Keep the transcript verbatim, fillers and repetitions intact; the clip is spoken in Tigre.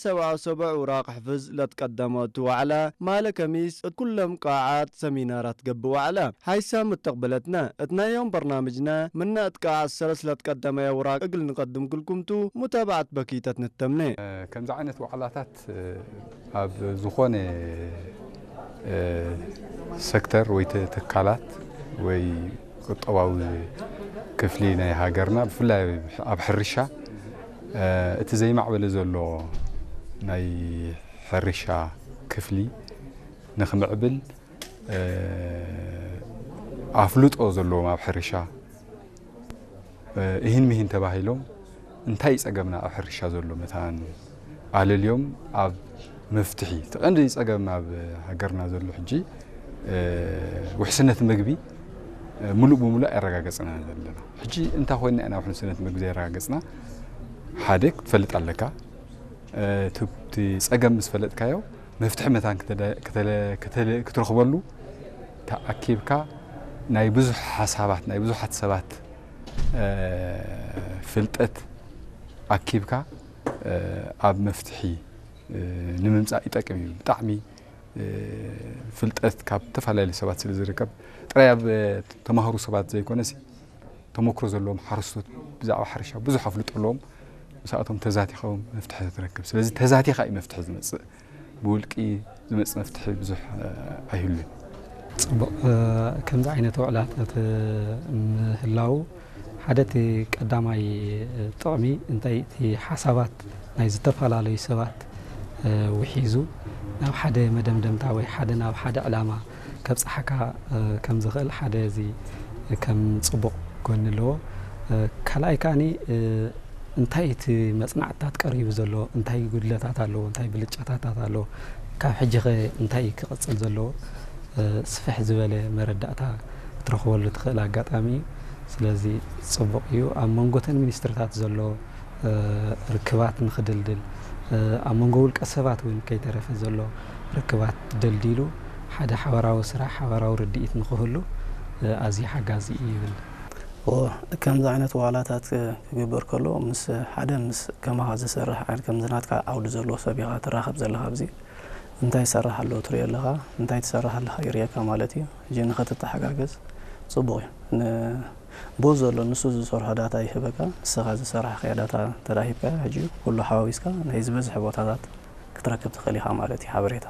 ሰብዓው ሰብዕ ውራቅ ሕፍዝ ለትቀደመ እቱ ወዕለ፣ ማለ ከሚስ እት ኩሎም ቃዓት ሰሚናራት ገብእ ወዕለ። ሐይሳም እተቅበለትነ፣ እት ናይ ዮም በርናምጅነ፣ ምነ እት ቃዓት ሰለስ ለትቀደመ ውራቅ እግል ንቀድም ክልኩም ቱ፣ ሙታብዐት በኪተት ንተምኔ። ከምዚ ዓይነት ዋዕላታት ኣብ ዝኾነ ሰክተር ወይ ተ-፣ ትካላት ወይ ቁጠባዊ ክፍሊ ናይ ሃገርና፣ ብፍላይ ኣብ ሕርሻ፣ እቲ ዘይማዕበለ ዘሎ ናይ ሕርሻ ክፍሊ ንክምዕብል፣ ኣፍልጦ ዘለዎም ኣብ ሕርሻ፣ እሂን ምሂን ተባሂሎም እንታይ ጸገምና ኣብ ሕርሻ ዘሎ መታን ኣለልዮም ኣብ መፍትሒ። እቲ ቀንዲ ጸገም ኣብ ሃገርና ዘሎ ሕጂ፣ ውሕስነት ምግቢ፣ ምሉእ ብምሉእ ኣየረጋገጽና ዘለና። ሕጂ እንታይ ኮይንና ኢና ውሕስነት ምግቢ ዘየረጋገጽና? ሓደ ክትፈልጥ ኣለካ። እቲ፣ እቲ ጸገም ምስ ፈለጥካዮ፣ መፍትሒ መታን ክተ-፣ ክተ-፣ ክተ-፣ ክትረኽበሉ ተኣኪብካ፣ ናይ ብዙሕ ሓሳባት፣ ናይ ብዙሓት ሰባት፣ እ፣ ፍልጠት ኣኪብካ፣ እ፣ ኣብ መፍትሒ፣ እ፣ ንምምጻእ ይጠቅም እዩ። ብጣዕሚ፣ እ፣ ፍልጠት ካብ ዝተፈላለዩ ሰባት ስለ ዝርከብ፣ ጥራይ ኣብ ተማህሩ ሰባት ዘይኮነሲ፣ ተመክሮ ዘለዎም ሓረስቶት ብዛዕባ ሕርሻ ብዙሕ ኣፍልጦ ኣለዎም። ምስኣቶም ተዛቲኻ እውን መፍትሒ ትረክብ። ስለዚ ተዛቲኻ እዩ መፍትሒ ዝመጽእ። ብውልቂ ዝመጽእ መፍትሒ ብዙሕ፣ እ፣ ኣይህሉን። ጽቡቕ፣ እ፣ ከምዚ ዓይነት ውዕላታት ምህላው ሓደ እቲ ቀዳማይ ጥቕሚ እንታይ እቲ ሓሳባት ናይ ዝተፈላለዩ ሰባት፣ እ፣ ውሒዙ ናብ ሓደ መደምደምታ ወይ ሓደ ናብ ሓደ ዕላማ ከብጽሓካ፣ እ፣ ከም ዝኽእል ሓደ እዚ ከም ጽቡቕ ጎኒ ኣለዎ። እ፣ ካልኣይ ከኣኒ፣ እ፣ እንታይ እቲ መጽናዕትታት ቀሪቡ ዘሎ፣ እንታይ ጉድለታት ኣለዎ፣ እንታይ ብልጫታታት ኣለዎ፣ ካብ ሕጂኸ እንታይ ክቕጽል ዘለዎ፣ እ፣ ስፍሕ ዝበለ መረዳእታ ክትረኽበሉ ትኽእል ኣጋጣሚ እዩ። ስለዚ ጽቡቕ እዩ። ኣብ መንጎተን ሚኒስትሪታት ዘሎ እ፣ ርክባት ንኽድልድል፣ እ፣ ኣብ መንጎ ውልቀ ሰባት እውን ከይተረፈ ዘሎ ርክባት ደልዲሉ ሓደ ሓበራዊ ስራሕ፣ ሓበራዊ ርድኢት ንኽህሉ፣ እ፣ ኣዝዩ ሓጋዚ እዩ ይብል። ኦ፣ ከምዚ ዓይነት ዋላታት ክግበር ከሎ፣ ምስ ሓደ፣ ምስ ከማኻ ዝሰርሕ ዓይነት፣ ከምዚ ናትካ ዓውዲ ዘለዎ ሰብ ኢኻ ትራኸብ ዘለኻ። ኣብዚ እንታይ ይሰርሕ ኣሎ ትሪኦ ኣለኻ፣ እንታይ ትሰርሕ ኣለኻ ይርእየካ ማለት እዩ። ሕጂ ንኸትተሓጋገዝ ጽቡቕ እዩ። ን-፣ ቦት ዘሎ ንሱ ዝሰርሖ ዳታ ይህበካ፣ ንስኻ ዝሰራሕካዮ ዳታ እንተ ደኣ ሂብካዮ፣ ሕጂ ኩሉ ሓዋዊስካ ናይ ዝበዝሐ ቦታታት ክትረክብ ትኽእል ኢኻ ማለት እዩ፣ ሓበሬታ።